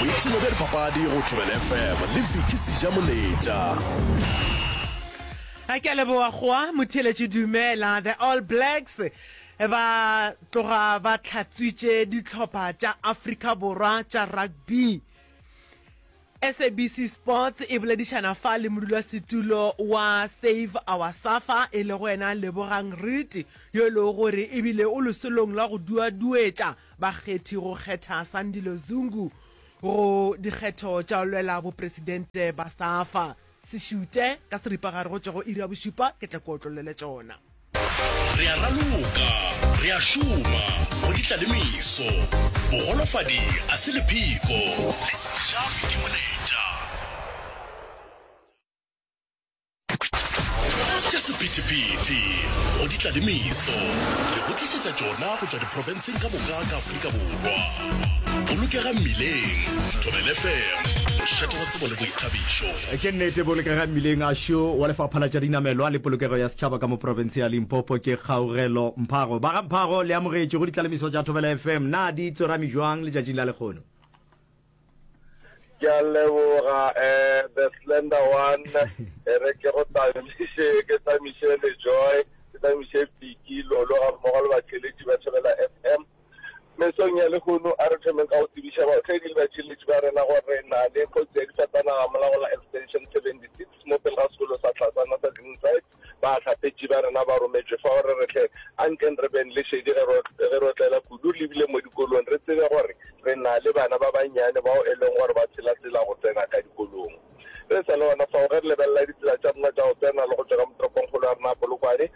Boipshino bja dipapadi go Thobela FM le Vicky Sejamoletša. A ke a leboga goa motheeletši dumela. The All Blacks ba tloga ba hlatswitše dihlopha tša Afrika Borwa tša rugby. SABC Sports e boledišana fa le modulasetulo wa Save Our Safa e lego yena Lebogang Riti yo e lego gore ebile o lesolong la go duaduetša bakgethi go kgetha Sandile Zungu go dikgetho tša go lwela bopresidente ba Safa. Se šute ka seripagare go tšwa go iri ya bošupa ke tle ke otlollele tšona. Re a raloka, re a šoma, go ditla le meso. Bogolofadi a se lepheko, le seja ke moletša. Tša sephethephethe, go ditla le meso. Re go tlišetša tšona go tšwa diprofenseng ka moka ka Afrika Borwa. Bolokega mmileng, Thobela FM, mošate wa tsebo le boithabišo. Ke nnete, bolokega mmileng a šo wa Lefapha la tša Dinamelwa le Polokego ya Setšhaba ka mo profense ya Limpopo ke Kgaugelo Mphago. Ba ga Mphago, le amogetšwe go ditlalemiso tša Thobela FM. Na di tsorame bjang letšatšing la lekgono? Ke a leboga eh, the slender one e re ke go tamiše ke tamiše le Joy ke tamiše Piki Lolo ga mmogo le batheeletši ba Thobela FM. Mesong ya lehono a re thomeng ka go tsebiša baotledi le batheeletši ba rena gore re na le kotsi ya difatanaga mola go la Extension 76 mo pele ga sekolo sa Tlhasana sa Greenside. Bahlapetši ba rena ba rometšwe fao re re hle ankeng re beng le šedi ge re ge re otlela kudu re lebile mo dikolong re tsebe gore re na le bana ba bannyane bao e leng gore ba tshela tsela go tsena ka dikolong. Re sa le gona fao ge re lebelela ditsela tša rena tša go tsena le go tšwa ka mo toropongkgolo ya rena ya Polokwane,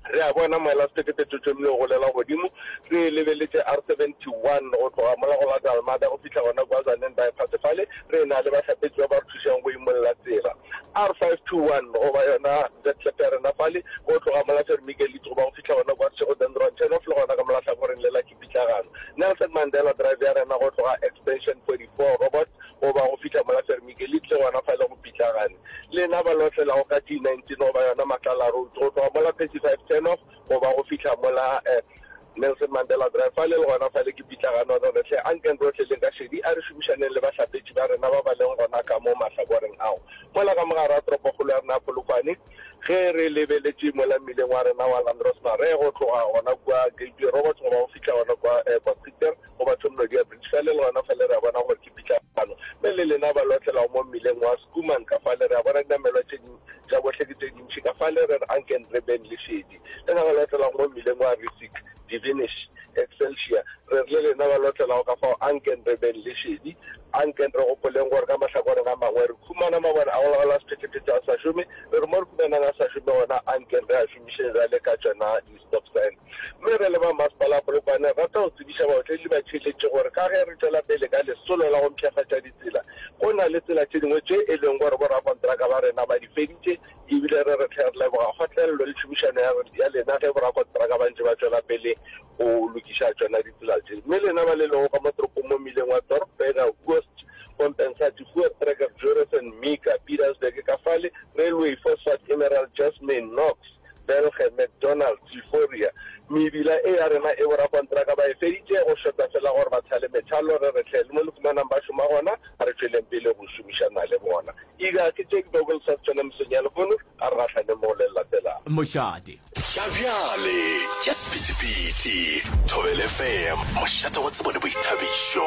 Re a bona moela sephethephethe o thomile go golela godimo. Re e lebeletše R71 go tloga mola go la Dalmada go fihla gona kua Tzaneen Bypass fale. Re na le bahlapetši ba ba re thušang go imolla tsela. R521 goba yona Vetlep ya rena fale go tloga mola Vermichelite goba go fihla gona kua Seshego Dendron Turnoff le gona ka mola hlakoreng le la ke pitlagano. Nelson Mandela Drive ya rena go tloga Extension 44 Robots goba go fihla mola Vermichelite le gona fale go pitlagane. Lena ba lotlelago ka G19 goba yona Matlala Road, go tloga mola 35 Turnoff goba go fihla mola Nelson Mandela Drive, fale le gona fale ke pitlagano. Re re hle, ankeng re otleleng ka šedi, a re šomišaneng le bahlapetši ba rena ba ba leng gona ka mo mahlakoreng ao. Mola ka mo gare ga toropokgolo ya rena ya Polokwane, ge re lebeletše mola mmileng wa rena wa Landros Marais go tloga gona kua Gateway Robots goba go fihla gona kua Potgieter, Goba Thomnodia Bridge fale le gona fale re a bona gore ke pitlagano. Mme le lena ba lotlelago mo mmileng wa Schoeman ka fale re a bona dinamelwa tše ding tša bohle ke tše dintši ka fale re re ankeng re beng le šedi. Lena ba lotlelago mo mmileng wa Rissik, Divinish, Excelsior re re le lena ba lotlelago ka fao ankeng re beng le šedi. Ankeng re gopoleng gore ka mahlakoreng a mangwe re khumana mabone a go laola sephethephethe a sa šome, re re mo re humanang a sa šome gona ankeng re a šomišeng bjale ka tšona di stop sign. Mme re le ba Masepala wa Polokwane re rata go tsebiša baotledi le batheeletši gore ka ge re tšwela pele ka lesolo la go mpshafatša ditsela, go na le tsela tše dingwe tše e leng gore borakontraka ba rena ba di feditše ebile re re hle re leboga kgotlelelo le tšhomišano ya lena ge borakontraka ba ntše ba tšwela pele go lokiša tšona ditsela tše. Mme lena ba le lego ka mo toropong mo mmileng wa Dorp, Berger, Oos, Kompensati, Voortrekker, Jorissen, Mika, Pietersburg ka fale, Railway, Phosphate, Emerald, Jasmine, Knox, Belge, McDonald's, Euphoria. Mebila e ya rena e borakontraka ba e feditše, go šota fela gore ba thale methalo, re re hle le mo le fumanang ba šoma gona, a re tšweleng pele go šomišana le bona. Ega ke tše ke bego ke le sa tšona mesong ya lehono, a re gahlaneng mo go le le latelago. Mošate. Tša bjale tša sephethephethe, Thobela FM, mošate wa tsebo le boithabišo.